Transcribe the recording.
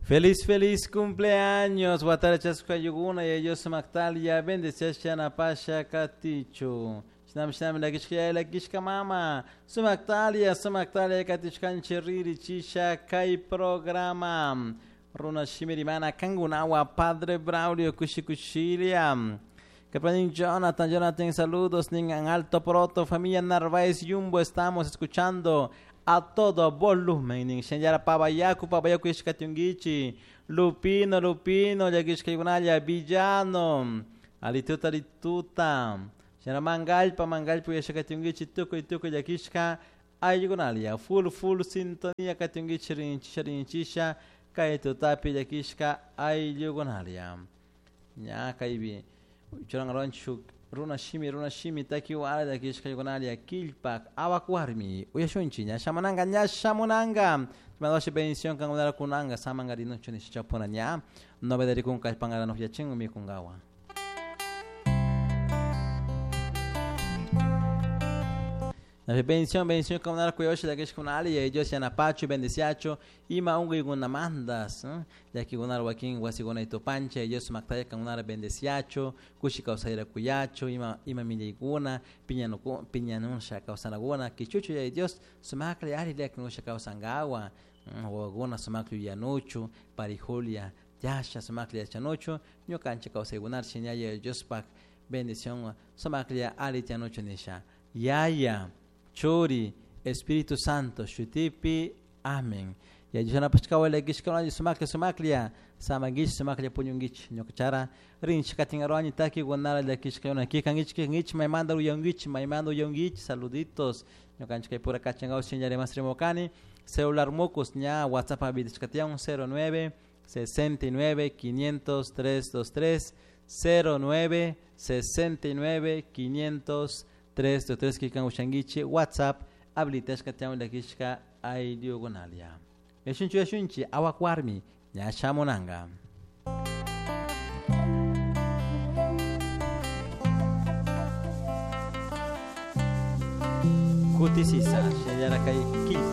Feliz, feliz cumpleaños, watara chaskayuguna y ellos maktalia, bendeciasha napasha katichu. Shinami shinami lakishka yaya lakishka mama. Sumaktalia, sumaktalia katishkanchi riri chisha kay programa. Runa shimirimana kangunawa Padre Braulio kushikushilia. Kapanin Jonathan, Jonathan, saludos, nin Alto Proto, familia Narváez Yumbo, estamos escuchando a todo volumen, nin Shenyara Pabayaku, Pabayaku ishkatiungichi, Lupino, Lupino, llakishkaykunalla, Villano, Alituta, Alituta, Shena Mangalpa, Mangalpa yashkatiungichi, tukuy, tukuy llakishka, ayukunalia, full, full sintonía katiungichi, rinchisha, rinchisha, kay tutapi llakishka, ayukunalia. Ña kaypi churankaronchik runa shimi takiwara llakishkaykunalia killpak awak warmi uyashunchik ña shamunanka ña shamunanka mandoshi bendición kankunara kunanka samankarinunchu nisha chapuna ña novedarikunka kallpankara yachin mikunkawan. Bendición, bendición, kankunara kuyashi llakishkunali, Dios yanapachu, bendiciachu, ima unquykunamantas, llakikunara wakin wasikuna tupancha, Dios sumaktalla kankunara bendiciachu, kushi kawsayra kuyachu, ima ima millaykuna, piñanusha kawsanakuna, kichuchu yaya Dios sumaklla ari llakinusha kawsankawan, wawakuna sumaklla yuyanuchu, parijulia yasha sumaklla yachanuchu, ñukanchik kawsaykunara shina yaya Diospak bendición sumaklla ari tiyanuchu nisha. Yaya, Churi, Espíritu Santo, shutipi, amén. Ya Dios llakishkuna sumaklla sumaklla, samankichik sumaklla puñunkichik, ñuka rinchik katinarani takikunara llakishkuna, kikankichik kikankichik, maymanta uyankichik, maymanta uyankichik, saluditos. Ñukanchik kay pura kachankaw shiñarimas rimukani, celular mukus ña WhatsApp habilitashkatiyan 09 69 500 323 09 69 500 323 kikan ushankichik WhatsApp habilitashka tiyan llakishka ayllukunalia. Yashunchi yashunchi awak warmi ña shamunanka. Kutisisa shinallara kay killpa.